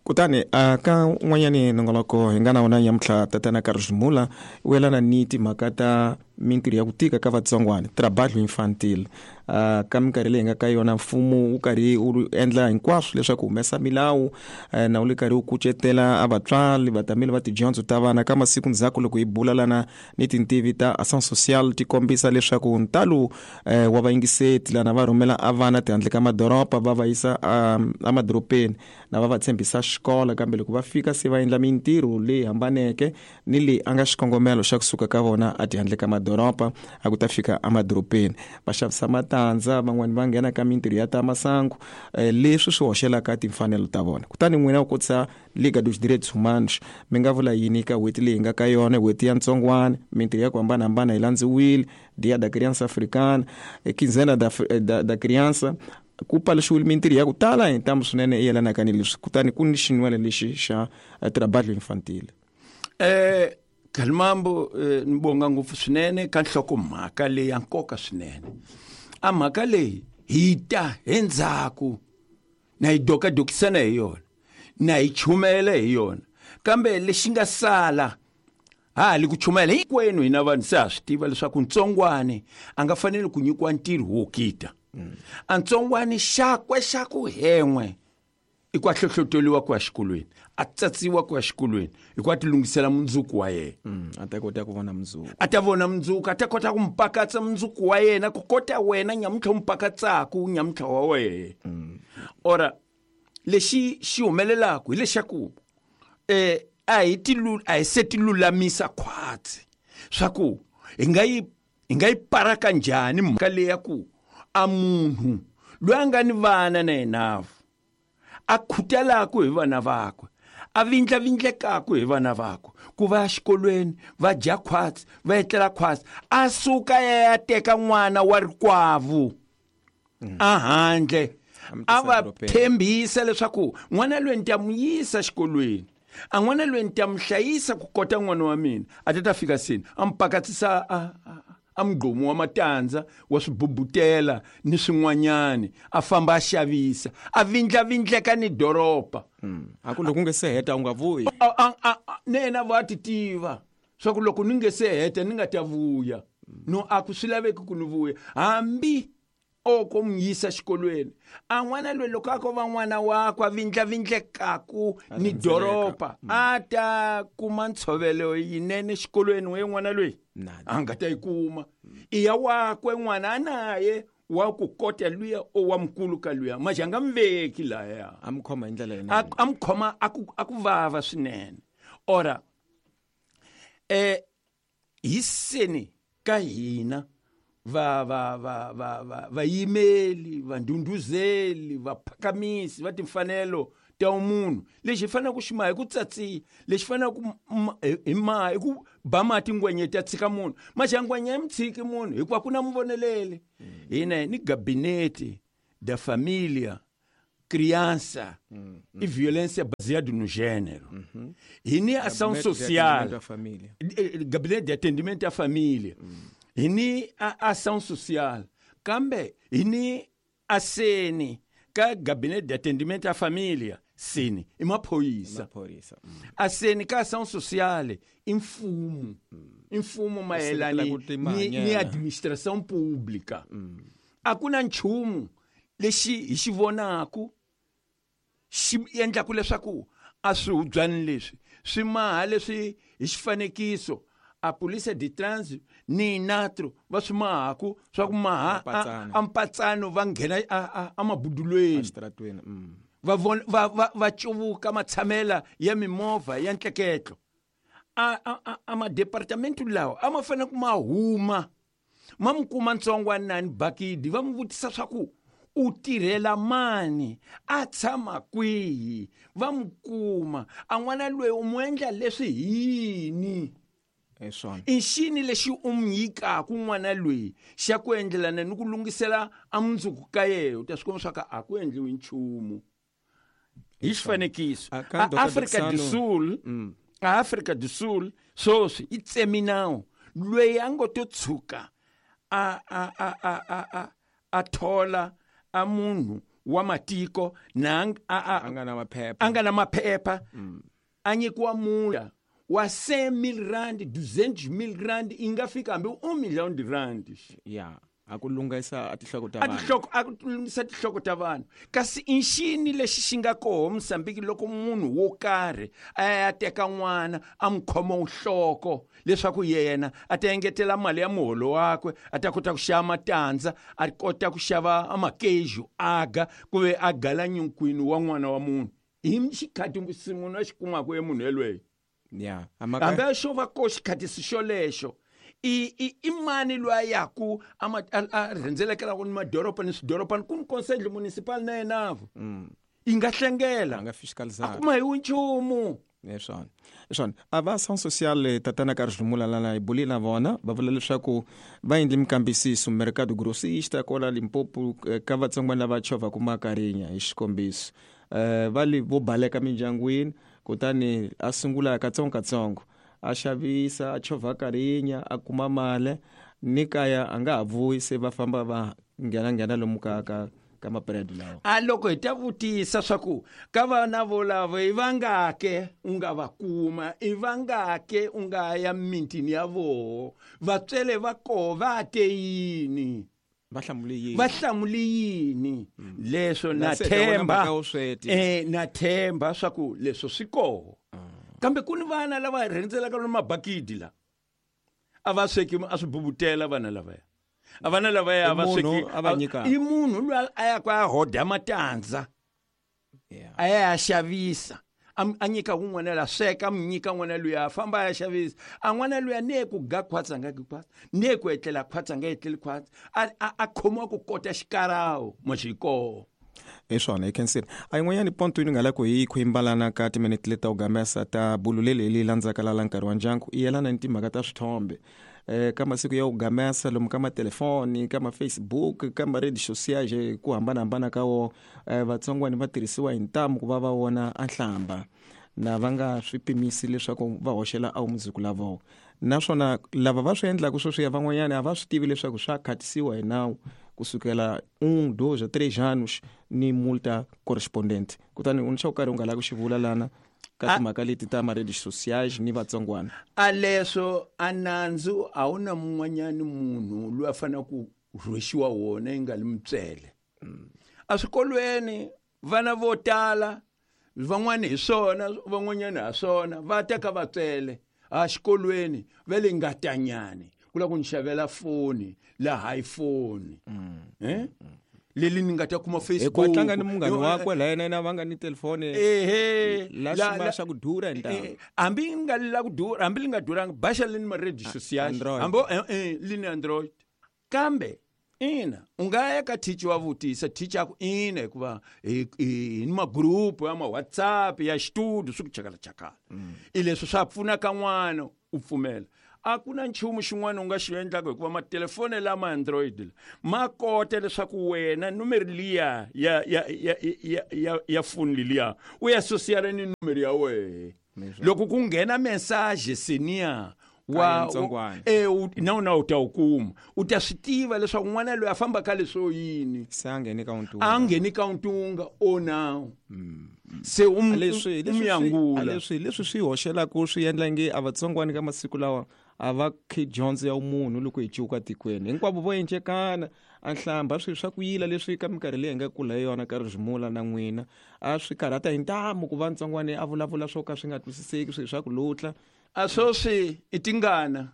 Kutani ka un'wanyani nongonoko hi nga na wona nyamuntlha, tatana Carlos Mula u yelana ni timhaka ta mintirho ya ku tika ka vatsongwana, trabalho infantil. Ka minkarhi leyi nga ka yona mfumo wu karhi wu endla hinkwaswo leswaku humesa milawu, na wu le karhi wu kucetela a vatswari vatameli va tidyondzo ta vana. Ka masiku ndzhaku loko hi bulalana ni tintivi ta action social ti kombisa leswaku ntalo wa vayingiseti lana va rhumela a vana tihandle ka madoroba va va yisa emadorobeni na va va tshembisa xikolo, kambe loko va fika se va endla mintirho leyi hambaneke ni leyi a nga xikongomelo xa kusuka ka vona a tihandle ka madoroba a ku ta fika emadorobeni va xavisa matandza, van'wani va nghena ka mintirho ya ta masangu, leswi swi hoxelaka timfanelo ta vona. Kutani n'wina u kotisa Liga dos Direitos Humanos, mi nga vula yini ka n'hweti leyi nga ka yona, n'hweti ya ntsongwana, mintirho ya ku hambanahambana yi landziwile, Dia da Criança Africana, Quinzena da Criança, ku paluxiwile mintirho ya ku tala hi ntamu swinene yi yelanaka ni leswi. Kutani ku ni xinwelo lexi xa trabalho infantil. Khalimambo, ni bonga ngopfu swinene ka nhlokomhaka leyi ya nkoka swinene. A mhaka leyi hi ta endzhaku na yi dokadokisana hi yona, na yi chumela hi yona, kambe lexi nga sala ha ha li ku chumela hinkwenu hina vanhu se ha swi tiva leswaku ntsongwane a nga faneli ku nyikiwa ntirho wo kita. A ntsongwane xakwe xa ku hen'we i ku a hlohloteriwa ku ya xikolweni, a tsatsiwa ku ya xikolweni, hi ku a ti lunghisela mundzuku wa yena. A ta kota ku vona mundzuku. A ta vona mundzuku, a ta kota ku mpakatsa mundzuku wa yena, ku kota wena nyamuntlha u mpakatsaku nyamuntlha wa wena. Ora lexi xi humelelaku hi lexaku a hi a hi se ti lulamisa khwatsi swa ku hi nga yi paraka njhani mhaka leyi ya ku a munhu loyi a nga ni vana na yena a khutelaku hi vana vakwe, a vindlavindlekaku hi vana vakwe, ku va ya xikolweni, va dya khwatsi, va etlela khwatsi, a suka ya ya teka n'wana wa rikwavo a handle, a va tshembisa leswaku n'wana loyi ni ta n'wi yisa xikolweni, a n'wana loyi ni ta n'wi hlayisa ku kota n'wana wa mina, a ta ta fika seni a n'wi pakatsisa a mugqomu wa matandza wa swibubutela ni swin'wanyani, a famba a xavisa, a vindlavindleka ni doroba. A ku loko u nge se heta u nga vuyi. Ne yena va ti tiva swa ku loko ni nge se heta ni nga ta vuya. No a ku swi laveki ku ni vuya. Hambi o ko n'wi yisa xikolweni, a n'wana loyi loko a ko va n'wana wakwe a vindlavindlekaku ni doroba, a ta kuma ntshovelo yinene xikolweni we n'wana loyi a nga ta yi kuma. I ya wakwe n'wana a naye wa ku kota luya o wa mukulu ka luya, maje a nga mi veki laya. A mi khoma hi ndlela yinene. A mi khoma a ku vava swinene. Ora hi seni ka hina va va va va va vayimeli, vandhundhuzeli, vaphakamisi va timfanelo ta munhu, lexi hi faneleke ku xi maha hi ku tsatsiya, lexi faneleke ku hi maha hi ku ba mati ngwenya ta tshika munhu. Maxa ngwenya yi mi tshiki munhu hikuva ku na muvoneleli. Hina ni gabinete da familia, criança e violência baseada no gênero. Hi ni ação Gabinete de social. atendimento à família. Gabinete de atendimento à família. Hi ni ação social. Kambe hi ni aseni ka gabinete de atendimento à família, seni i maphorisa. Maphorisa. Aseni ka ação social i mfumo. I mfumo mayelana ku timhanyela. ni administração pública. A ku na nchumu lexi hi xi vonaku xi endlaku leswaku a swihubyani leswi swi maha leswi hi xifanekiso a polícia de trânsito ni natro va swi mahaku swa ku maha Mpatsano. a mpatsano va nghena a mabudulweni. Exitratweni. Va vona, va cuvuka matshamela ya mimovha ya ntleketlo. A madepartamento lawa a ma fanele ku ma huma, ma mi kuma ntsongwana nani bakidi, va mi vutisa swa ku u tirhela mani, a tshama kwihi, va mi kuma. A n'wana loyi u mu endla leswi hi yini? Hi swona. I xini lexi u mi nyikaka n'wana loyi xa ku endlelana ni ku lunghisela a mundzuku ka yena? U ta swi kuma swa ku a ku endliwi nchumu. Hi xifanekiso, A ka a Doctor Afrika do Dixano. Sul, a Afrika do Sul sweswi yi tsemi nawu loyi a ngo to tshuka a thola a munhu wa matiko na a nga na maphepha, a nga na maphepha, a nyikiwa mula wa 100,000 rand, 200,000 rand, i nga fika hambi 1 million de rand. Ya, a ku lunghisa a tinhloko ta vanhu. A ku lunghisa tinhloko ta vanhu. Kasi i nxini lexi xi nga koho Mozambique loko munhu wo karhi a ya teka n'wana a n'wi khoma nhloko leswaku yena a ta engetela mali ya muholo wakwe, a ta kota ku xava matandza, a kota ku xava makeju aga ku ve a gala nyunkwini wa n'wana wa munhu. Hi xikhati munhu a xi kumaka e munhu yelweyo. Ya, hambi a xo va ko xikhatisi xolexo i mani loyi a yaku a rhendzelekelaku ni madoroba ni swidorobani ku ni conselho municipal na yenavo i nga hlengela a nga fiscalizar a kuma hi nchumu. Leswona a va ação social tatana ka Rizumula lana hi buli na vona va vula leswaku va endle minkambisiso mercado grossista kwala Limpopo ka vatsongwana lava chovhaku makarinya hi xikombiso, va li vo baleka mindyangwini, kutani a sungula katsongokatsongo a xavisa a chovha karinya a kuma mali ni kaya a nga ha vuyi, se va famba va nghena lomu ka mapuredi lawa. A loko hi ta vutisa swa ku ka vana volavo i vangake u nga va kuma, i vangake u nga ya mintini ya voho, vatswele va koho va te yini, va hlamule yini, va hlamule yini? Leswo na themba, na themba swa ku leswo swi koho. Kambe ku ni vana lava rhendzelaka ni mabakidi la a va sweki a swi bubutela vana lavaya. A vana lavaya va sweki i munhu loyi a ya ku a hoda matandza, a ya xavisa, a nyika un'wana la sweka, a nyika n'wana luya a famba a ya xavisa, a n'wana luya ne ku ga khwatsa nga gi khwatsa, ne ku etlela khwatsa nga etleli khwatsa, a khomiwa ku kota xikarawo maxikoho. Hi swona hi khensile. A yin'wanyani ponto yi nga la ku hi khwimbalana ka timinete leti ta ku gamesa ta bulu leli leyi landzaka lala nkarhi wa ndyangu i yelana ni timhaka ta swithombe, ka masiku ya ku gamesa lomu ka matelefoni, ka ma-Facebook, ka ma-redes sociais ku hambanahambana ka wo, vatsongwani va tirhisiwa hi ntamu ku va va vona a nhlamba na va nga swi pimisi leswaku va hoxela a mundzuku la vona. Naswona lava va swi endlaka sweswiya van'wanyana a va swi tivi leswaku swa khatisiwa hi nawu kusukela 1, 2, 3 anos ni multa correspondente. Kutani u ni xo karhi u nga lavi ku xi vula lana ka timhaka leti ta ma-redes sociais ni vatsongwana? A leswo a nandzu a wu na mun'wanyani munhu loyi a fanele ku rhwexiwa wona yi nga li mutswele. Eswikolweni vana vo tala van'wani hi swona, van'wanyani ha swona, va teka vatswele a xikolweni va le ngatanyani ku lava ku ni xavela foni la iPhone, leli ni nga ta kuma Facebook. Hi ku tlanga ni munghana wakwe la yena va nga ni telefoni ehe la xima xa ku durha hi ntamu. Hambi nga la ku durha, hambi li nga duranga, baxa li ni ma-redes sociais hambi li ni Android. Kambe ina u nga ya ka teacher wa vutisa, teacher ku ina hikuva hi ni magrupu ya ma-WhatsApp ya xitudio swi ku chakalachakala. I leswi swa pfuna ka n'wana u pfumela. A ku na nchumu xin'wana u nga xi endlaka hikuva matelefoni lama Android ma kota leswaku wena numero liya ya ya ya ya ya ya foni liya u ya asosiala ni numero ya wehe. Loko ku nghena message senior wa na u ta wu kuma, u ta swi tiva leswaku n'wana loyi a famba ka leswo yini, se a ngheni ka ntunga, a ngheni ka ntunga o nawu se u yangula. Leswi swi hoxelaka swi endla nge a vatsongwani ka masiku lawa a va khe dyondzo ya munhu loko hi cuka tikweni hinkwavo vo encekana a nhlamba swilo swa ku yila leswi ka minkarhi leyi hi nga kula hi yona ka Rizimula na n'wina a swi karhata hi ntamu ku va ntsongwani a vulavula swo ka swi nga twisiseki, swilo swa ku lutla. A swoswi i tingana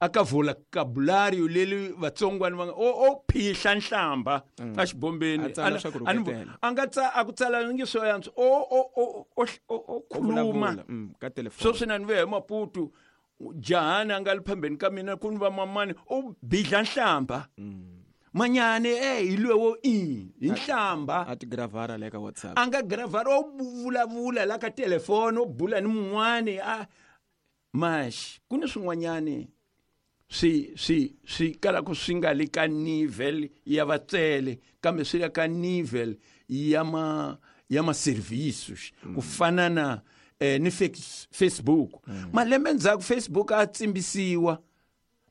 a ka vocabulario leli vatsongwani va nga o phihla nhlamba a xibombeni, a nga tsa a ku tsala ngi swo yantswa o khuluma ka telefoni. Swoswi na ni ve hi Maputo, jahani a nga li phambeni ka mina ku ni va mamani o bidla nhlamba manyane hi lwewo i hi nhlamba a ti gravara le ka WhatsApp, a nga gravara o vulavula la ka telefoni o bula ni mun'wani a max ku ni swin'wanyani swi kalaka swi nga le ka nivel ya vatswele kambe swi le ka nivel ya ma services ku fana na ni Facebook. Malembe ndzhaku Facebook a tsimbisiwa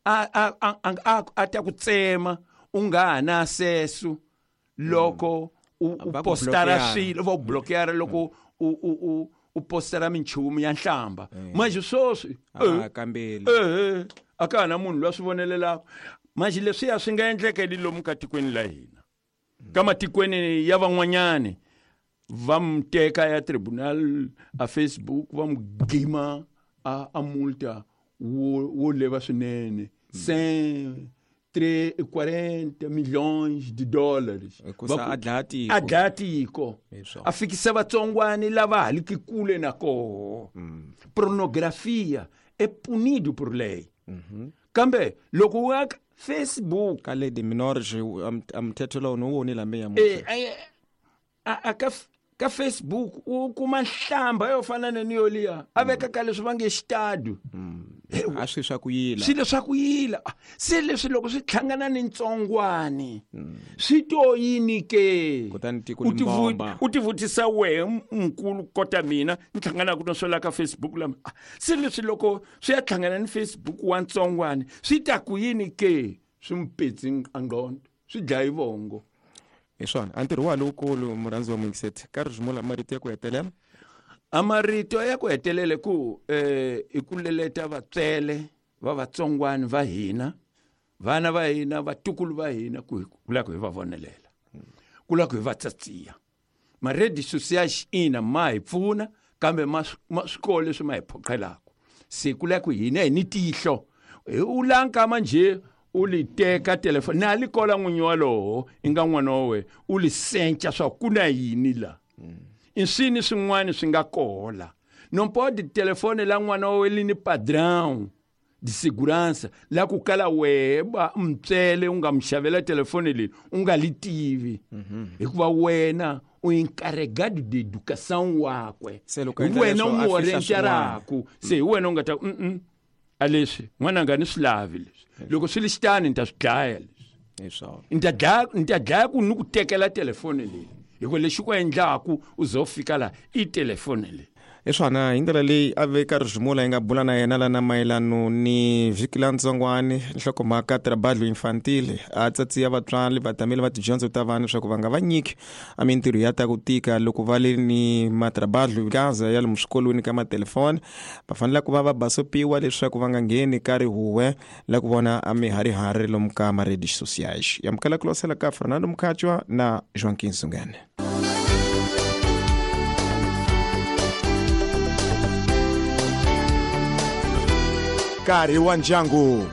a ta ku tsema u nga ha na sesu loko u postara swilo va ku blokera loko u postara minchumu ya nhlamba. Manje sweswi kambeli a ka ha na munhu loyi a swi vonelelaka. Manje leswiya swi nga endlekeli lomu ka tikweni la hina, ka matikweni ya van'wanyani va mu teka ya tribunal a Facebook va mu gima a multa wo leva swinene 140 milhões de dólares. A dlaya tiko. A fikisa vatsongwani lava ha liki kule na koho. Pornografia é punido por lei. Kambe loko u ya Facebook ka lady minor a mthetho lowu ni woni lambe ya a ka Facebook u kuma nhlamba yo fana na ni yoliya a veka ka leswi va nge xitadu. A swi swa ku yila. Swilo swa ku yila. Se leswi loko swi hlangana ni ntsongwani swi to yini ke? Kutani tiko limbomba. U tivutisa wehe mkulu kota mina ni hlanganaka na swela ka Facebook lama. Se leswi loko swi ya hlangana ni Facebook wa ntsongwani swi ta ku yini ke? Swi mupetsi ngqondo, swi dlayi vongo. Hi swona a ntirho wa lowukulu murhandzi wa muyingiseti ka rizimula marito ya ku hetelela. A marito ya ku hetelele ku i ku leleta vatswele va vatsongwani va hina, vana va hina, vatukulu va hina, ku la ku hi va vonelela, ku la ku hi va tsatsiya. Ma-redes sociais ina ma hi pfuna kambe ma swikolo leswi ma hi phoqelaka. Se ku la ku hina hi ni tihlo u lankama njhe u li teka telefoni na li kola n'winyi walowo i nga n'wana wa wena u li senca swa ku na yini la. I swini swin'wana swi nga kola. Não pode telefone la n'wana wa wena li ni padrão de segurança la ku kala wehe ba mtswele u nga mu xavela telefoni leyi u nga li tivi. Hikuva wena u encarregado de educação wakwe. Hi wena u mu orientaraku. Se hi wena u nga ta a leswi n'wananga ni swi lavi leswi. Loko swi li xitani ni ta swi dlaya leswi. Ni ta dlaya ku ni ku tekela telefoni leyi. Hikuva lexi ku endlaku u ze u fika laha i telefoni leyi. Hi swona hi ndlela leyi a veka rizimula yi nga bula na yena lana mayelano ni vhiki la ntsongwani nhlokomhaka trabalho infantil. A tsatsiya vatswari vatameli va tidyondzo ta vana leswaku va nga va nyiki a mintirho ya ta ku tika loko va le ni matrabalho gaza ya lomu swikolweni ka matelefoni. Va fanele ku va va basopiwa leswaku va nga ngheni ka rihuwe la ku vona a miharihari lomu ka ma-redes sociais. Yamukela ku losela ka Fernando Mkhatshwa na Joaquim Sungane. Nkarhi wa ndyangu.